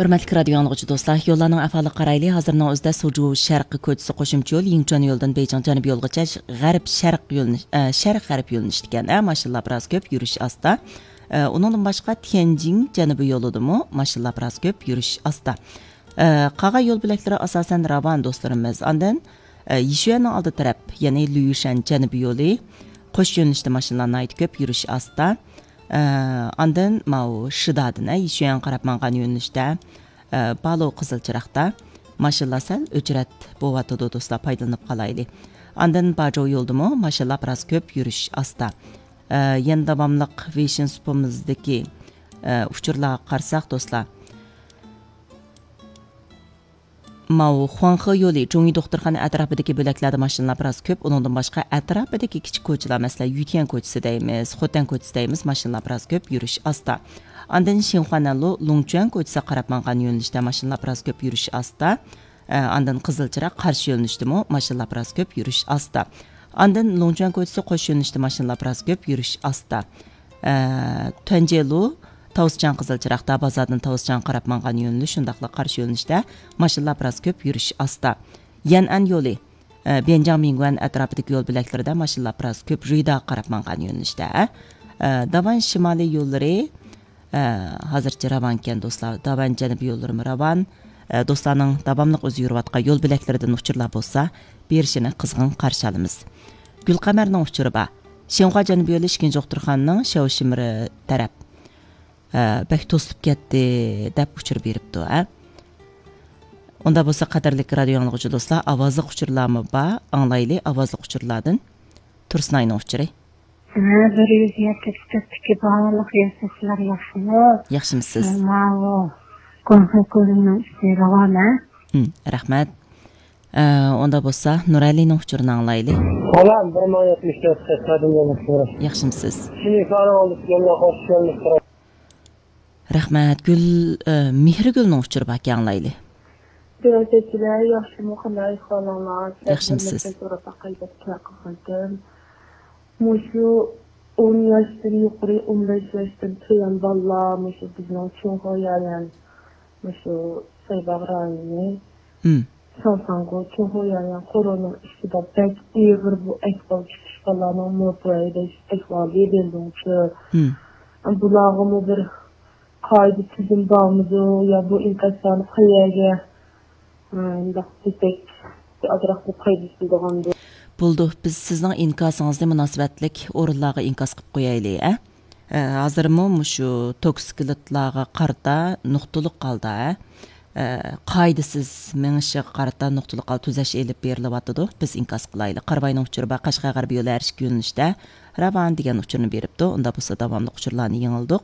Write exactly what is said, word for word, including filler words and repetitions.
ھۆرمەتلىك رادىيو ئاڭلىغۇچى دوستلار، يوللارنىڭ ئەھۋالىغا قارايلى. ھازىرنىڭ ئۆزىدە سۇجۇ شەرقىي كوچىسى قوشۇمچە يول، يىڭچۈەن يولىدىن بېيجىڭ جەنۇبىي يولىغىچە ش-، غەرب شەرق يۆنىلىش، ئە، شەرق غەرب يۆنىلىشتىكەن. ئە، ماشىنىلار بىراز كۆپ، يۈرۈش ئاستا. ئە، ئۇنىڭدىن باشقا تيەنجىڭ جەنۇبىي يولىدىمۇ ماشىنىلار بىراز كۆپ، يۈرۈش ئاستا. ئە، قالغان يول بۆلەكلىرى ئاساسەن راۋان دوستلىرىمىز. ئاندىن، ئە، يىشۈەننىڭ ئالدى تەرەپ، يەنى لۈيۈشەن جەنۇبىي يولى، قوش يۆنىلىشتە ماشىنىلار ناھايىتى كۆپ، يۈرۈش ئاستا. ئە، ئاندىن ماۋۇ شىدادىن، ئە، يىشۈەنگە قاراپ ماڭغان يۆنىلىشتە، ئە، بالو قىزىل چىراغدا ماشىنىلار سەل ئۆچرەت بولۇۋاتىدۇ، دوستلار، پايدىلىنىپ قالايلى. ئاندىن باجو يولىدىمۇ ماشىنىلار بىراز كۆپ، يۈرۈش ئاستا. ئە، يەنە داۋاملىق ۋېيشىن سۇپىمىزدىكى، ئە، ئۇچۇرلارغا قارىساق، دوستلار، ماۋۇ خۇاڭخې يولى، جۇڭيى دوختۇرخانا ئەتراپىدىكى بۆلەكلەردە ماشىنىلار بىراز كۆپ. ئۇنىڭدىن باشقا، ئەتراپىدىكى كىچىك كوچىلار، مەسىلەن، يۈتيەن كوچىسى دەيمىز، خوتەن كوچىسى دەيمىز، ماشىنىلار بىراز كۆپ، يۈرۈش ئاستا. ئاندىن شىنخۇانەنلۇ لۇڭچۈەن كوچىسىغا قاراپ ماڭغان يۆنىلىشتە ماشىنىلار بىراز كۆپ، يۈرۈش ئاستا. ئە، ئاندىن قىزىل چىراغ قارشى يۆنىلىشتىمۇ ماشىنىلار بىراز كۆپ، يۈرۈش ئاستا. ئاندىن لۇڭچۈەن كوچىسى قوش يۆنىلىشتە ماشىنىلار بىراز كۆپ، يۈرۈش ئاستا. ئە، تۈەنجېلۇ، تاۋسىچاڭ قىزىل چىراغدا، بازاردىن تاۋسىچاڭغا قاراپ ماڭغان يۆنىلىش، شۇنداقلا قارشى يۆنىلىشتە ماشىنىلار بىراز كۆپ، يۈرۈش ئاستا. يەنئەن يولى، ئە، بيەنجاڭ مىڭگۈەن ئەتراپىدىكى يول بۆلەكلىرىدە ماشىنىلار بىراز كۆپ، رۇيداغا قاراپ ماڭغان يۆنىلىشتە. ئە، داۋان شىمالىي يوللىرى، ئە، ھازىرچە راۋانكەن دوستلار. داۋان جەنۇبىي يوللىرىمۇ راۋان. ئە، دوستلارنىڭ داۋاملىق ئۆزى يۈرۈۋاتقان يول بۆلەكلىرىدىن ئۇچۇرلار بولسا، بېرىشىنى قىزغىن قارشى ئالىمىز. گۈلقەمەرنىڭ ئۇچۇرى بار. شىنخۇا جەنۇبىي يولى ئىككىنچى دوختۇرخانىنىڭ شياۋشىمىرى تەرەپ. ئە، بەك توسۇپ كەتتى، دەپ ئۇچۇر بېرىپتۇ، ھە. ئۇندا بولسا، قەدىرلىك رادىيو ئاڭلىغۇچى دوستلار، ئاۋازلىق ئۇچۇرلارمۇ بار، ئاڭلايلى، ئاۋازلىق ئۇچۇرلاردىن. تۇرسۇنئاينىڭ ئۇچۇرى. ھە، بىر يۈز يەتتە ئۈچ تۆتتىكى باھالىق ياساشلار ياخشىمۇ؟ ياخشىمۇسىز؟ ماۋۇ گۇڭخې كۆلىنىڭ ئۈستى راۋان، ھە؟ ھىم، رەھمەت. ئە، ئۇندا بولسا، نۇرئەلىنىڭ ئۇچۇرىنى ئاڭلايلى. سالام، بىر مىڭ يەتمىش تۆت قەشقەردىن يوللىشىمىز. ياخشىمسىز؟ شىنخۇانەن ئالدى يوللار خوش يوللىشىمىز. رەھمەت. گۈل، ئە، مېھرىگۈلنىڭ ئۇچۇرى باركەن، ئاڭلايلى. سىياسەتچىلەر ياخشىمۇ، قانداق ئەھۋالىڭلار؟ ياخشىمسىز؟ سوراپ باقاي دەپ كەل قىلغانتىم. مۇشۇ ئون ياشتىن يۇقىرى، ئون بەش ياشتىن تۆۋەن بالىلار، مۇشۇ بىزنىڭ چىڭخۇا يايەن، مۇشۇ سايباغ رايونى، ھىم. شاڭساڭگو، چىڭخۇا يايەن قورۇنىڭ ئىچىدە بەك ئېغىر بۇ ئەھۋال چىقىش، بالىلارنىڭ مو بۇ ئەھۋالى بىلدىڭچۇ. ھىم. بۇلارغىمۇ بىر قائىدە تۈزۈم بارمىدۇ؟ يا بۇ ئىنكاسلارنى قەيەرگە، ھە، مۇنداق دېسەك، ئازراق بىر پايدىسى بولىدىغاندۇ؟ بولىدۇ، بىز سىزنىڭ ئىنكاسىڭىزنى مۇناسىۋەتلىك ئورۇنلارغا ئىنكاس قىلىپ قويايلى، ھە؟ ئە، ھازىرمۇ مۇشۇ توكسىكلىتلارغا قارىتا نۇقتىلىق ھالدا، ھە؟ ئە، قائىدىسىز مېڭىشىغا قارىتا نۇقتىلىق ھالدا تۈزەش ئېلىپ بېرىلىۋاتىدۇ. بىز ئىنكاس قىلايلى. قاراباينىڭ ئۇچۇرى بار، قەشقەر غەربىي يولى ھەر ئىككى يۆنىلىشتە راۋان دېگەن ئۇچۇرنى بېرىپتۇ. ئۇندا بولسا داۋاملىق ئۇچۇرلارنى يېڭىلدۇق.